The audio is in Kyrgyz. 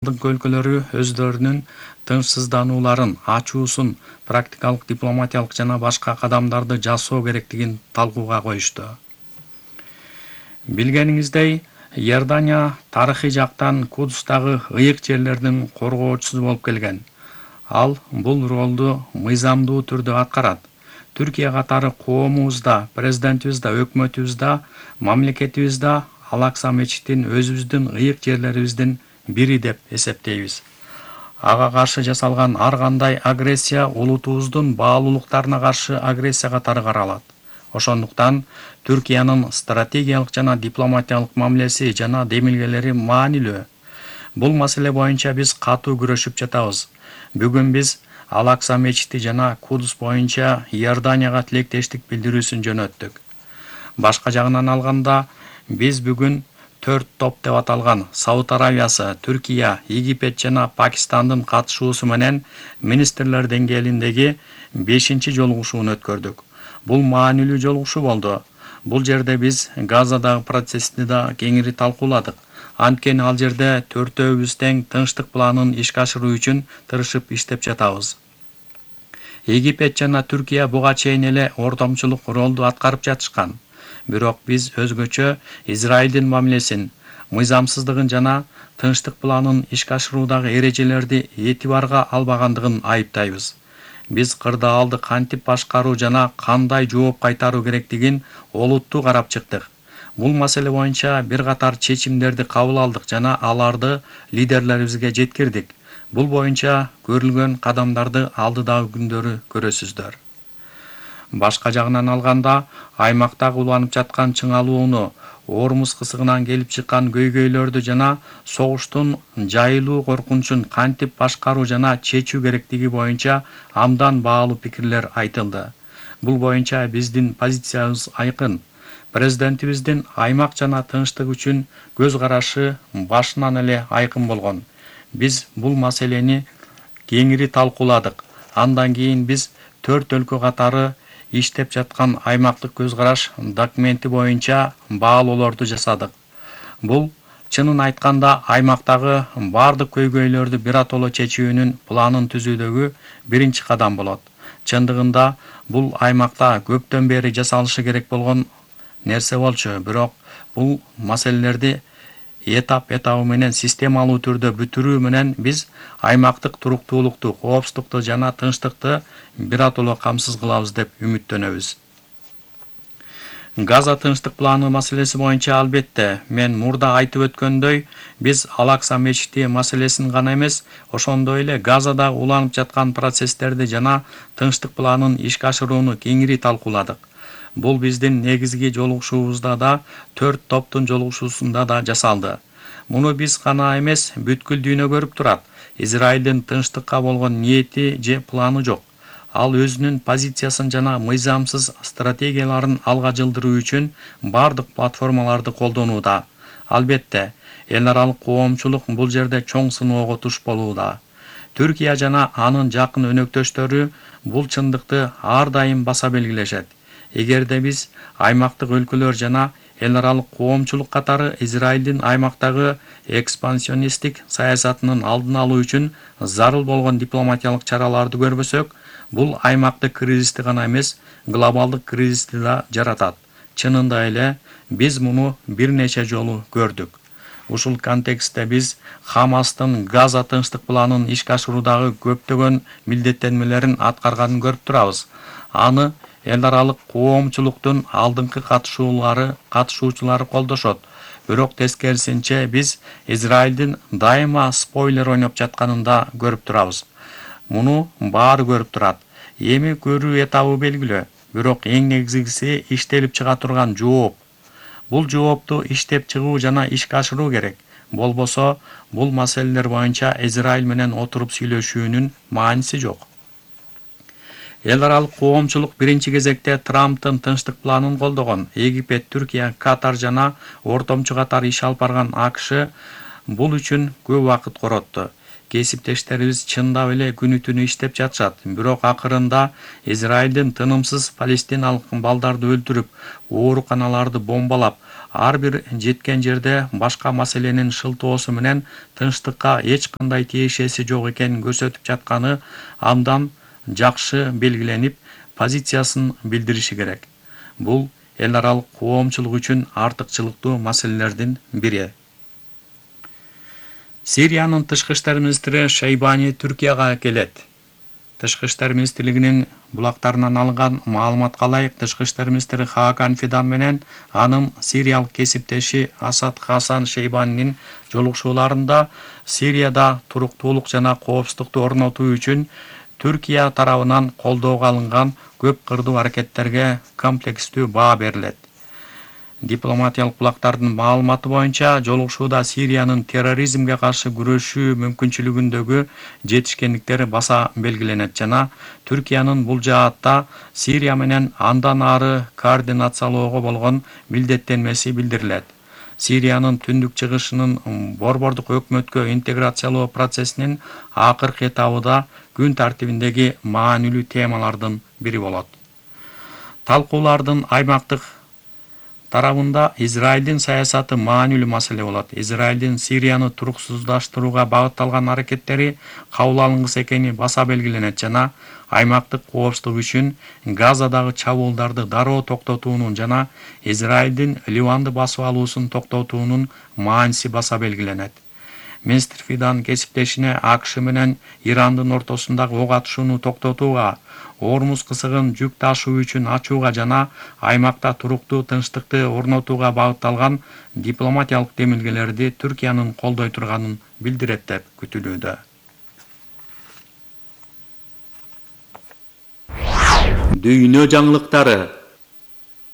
өлкөлөрү өздөрүнүн тынчсызданууларын ачуусун практикалык дипломатиялык жана башка кадамдарды жасоо керектигин талкууга коюшту. Билгениңиздей, Иордания тарыхый жактан Кудустагы ыйык жерлердин коргоочусу болуп келген. Ал бул ролду мыйзамдуу түрдө аткарат. Түркия катары коомубузда, президентибизде, өкмөтүбүздө, мамлекетибизде Ал-Акса мечитин өзүбүздүн ыйык жерлерибиздин бири деп эсептейбиз. Ага каршы жасалган ар кандай агрессия улутубуздун баалуулуктарына каршы агрессия катары каралат. Ошондуктан Түркиянын стратегиялык жана дипломатиялык мамилеси жана демилгелери маанилүү. Бул маселе боюнча биз катуу күрөшүп жатабыз. Бүгүн биз Ал-Акса мечити жана Кудус боюнча Иорданияга тилектештик билдирүүсүн жөнөттүк. Башка жагынан алганда, биз бүгүн 4 топ деп аталган Сауд Аравиясы, Түркия, Египет жана Пакистандын катышуусу менен министрлер деңгээлиндеги 5-чи жолугушууну өткөрдүк. Бул маанилүү жолугушуу болду. Бул жерде биз Газадагы процессти да кеңири талкууладык. Анткени ал жерде төртөөбүз тең тынчтык планын ишке ашыруу үчүн тырышып иштеп жатабыз. Египет жана Түркия буга чейин эле ортомчулук ролду аткарып жатышкан. Бирок биз өзгөчө Израилдин мамилесин, мыйзамсыздыгын жана тынчтык планын ишке ашыруудагы эрежелерди этибарга албагандыгын айыптайбыз. Биз кырдаалды кантип башкаруу жана кандай жооп кайтаруу керектигин олуттуу карап чыктык. Бул маселе боюнча бир катар чечимдерди кабыл алдык жана аларды лидерлерибизге жеткирдик. Бул боюнча көрүлгөн кадамдарды алдыдагы күндөрү көрөсүздөр. Башка жагынан алганда, аймактагы уланып жаткан чыңалууну, Ормуз кысыгынан келип чыккан көйгөйлөрдү жана согуштун жайылуу коркунучун кантип башкаруу жана чечүү керектиги боюнча абдан баалуу пикирлер айтылды. Бул боюнча биздин позициябыз айкын. Президентибиздин аймак жана тынчтык үчүн көз карашы башынан эле айкын болгон. Биз бул маселени кеңири талкууладык. Андан кийин биз 4 өлкө катары иштеп жаткан аймактык көз караш документи боюнча баалоолорду жасадык. Бул чынын айтканда аймактагы бардык көйгөйлөрдү биротоло чечүүнүн планын түзүүдөгү биринчи кадам болот. Чындыгында бул аймакта көптөн бери жасалышы керек болгон нерсе болчу, бирок бул маселелерди этап-этабы менен системалуу түрдө бүтүрүү менен биз аймактык туруктуулукту, коопсуздукту жана тынчтыкты биротоло камсыз кылабыз деп үмүттөнөбүз. Газа тынчтык планы маселеси боюнча албетте, мен мурда айтып өткөндөй, биз Ал-Акса мечити маселесин гана эмес, ошондой эле Газадагы уланып жаткан процесстерди жана тынчтык планын ишке ашырууну кеңири талкууладык. Бул биздин негизги жолугушуубузда да, 4 топтун жолугушуусунда да жасалды. Муну биз гана эмес, бүткүл дүйнө көрүп турат. Израилдин тынчтыкка болгон ниети же планы жок. Ал өзүнүн позициясын жана мыйзамсыз стратегияларын алга жылдыруу үчүн бардык платформаларды колдонууда. Албетте, эл аралык коомчулук бул жерде чоң сыноого туш болууда. Түркия жана анын жакын өнөктөштөрү бул чындыкты ар дайым баса белгилешет. Эгерде биз аймактык өлкөлөр жана эл аралык коомчулук катары Израилдин аймактагы экспансионисттик саясатынын алдын алуу үчүн зарыл болгон дипломатиялык чараларды көрбөсөк, бул аймактык кризисти гана эмес, глобалдык кризисти да жаратат. Чынында эле биз муну бир нече жолу көрдүк. Ушул контекстте биз Хамастын Газа тынчтык планын ишке ашыруудагы көптөгөн милдеттенмелерин аткарганын көрүп турабыз. Аны эл аралык коомчулуктун алдыңкы катышуучулары колдошот. Бирок тескерисинче биз Израилдин дайыма спойлер ойноп жатканын да көрүп турабыз. Муну баары көрүп турат. Эми көрүү этабы белгилүү, бирок эң негизгиси иштелип чыга турган жооп. Бул жоопту иштеп чыгуу жана ишке ашыруу керек. Болбосо, бул маселелер боюнча Израиль менен отуруп сүйлөшүүнүн мааниси жок. Эл аралык коомчулук биринчи кезекте Трамптын тынчтык планын колдогон. Египет, Түркия, Катар жана ортомчу катары иш алып барган АКШ бул үчүн көп убакыт коротtu. Кесиптештерибиз чындап эле күнү түнү иштеп жатышат. Бирок акырында Израилдин тынымсыз палестиналык балдарды өлтүрүп, ооруканаларды бомбалап, ар бир жеткен жерде башка маселенин шылтоосу менен тынчтыкка эч кандай тиешеси жок экенин көрсөтүп жатканы абдан жакшы белгиленип, позициясын билдириши керек. Бул эл аралык коомчулук үчүн артыкчылыктуу маселелердин бири. Сириянын тышкы иштер министри Шейбани Түркияга келет. Тышкы иштер министрлигинин булактарынан алынган маалыматка ылайык, тышкы иштер министри Хакан Фидан менен анын сириялык кесиптеши Асад Хасан Шейбанинин жолугушууларында Сирияда туруктуулук жана коопсуздукту орнотуу үчүн Түркия тарабынан колдоого алынган көп кырдуу аракеттерге комплекстүү баа берилет. Дипломатиялык булактардын маалыматы боюнча, жолугушууда Сириянын терроризмге каршы күрөшүү мүмкүнчүлүгүндөгү жетишкендиктер баса белгиленет жана Түркиянын бул жаатта Сирия менен андан ары координациялоого болгон милдеттенмеси билдирилет. Сириянын түндүк чыгышынын борбордук өкмөткө интеграциялоо процессинин акыркы этабыда күн тартибиндеги маанилүү темалардын бири болот. Талкуулардын аймактык тарабында Израилдин саясаты маанилүү маселе болот. Израилдин Сирияны туруксуздаштырууга багытталган аракеттери кабыл алынгыс экени баса белгиленет жана аймактык коопсуздук үчүн Газадагы чабуулдарды дароо токтотуунун жана Израилдин Ливанды басып алуусун токтотуунун мааниси баса белгиленет. Министр Фидан кесиптешине АКШ менен Ирандын ортосундагы ок атышууну токтотууга, Ормуз кысыгын жүк ташуу үчүн ачууга жана аймакта туруктуу тынчтыкты орнотууга багытталган дипломатиялык демилгелерди Түркиянын колдой турганын билдирет деп күтүлүүдө. Дүйнө жаңылыктары.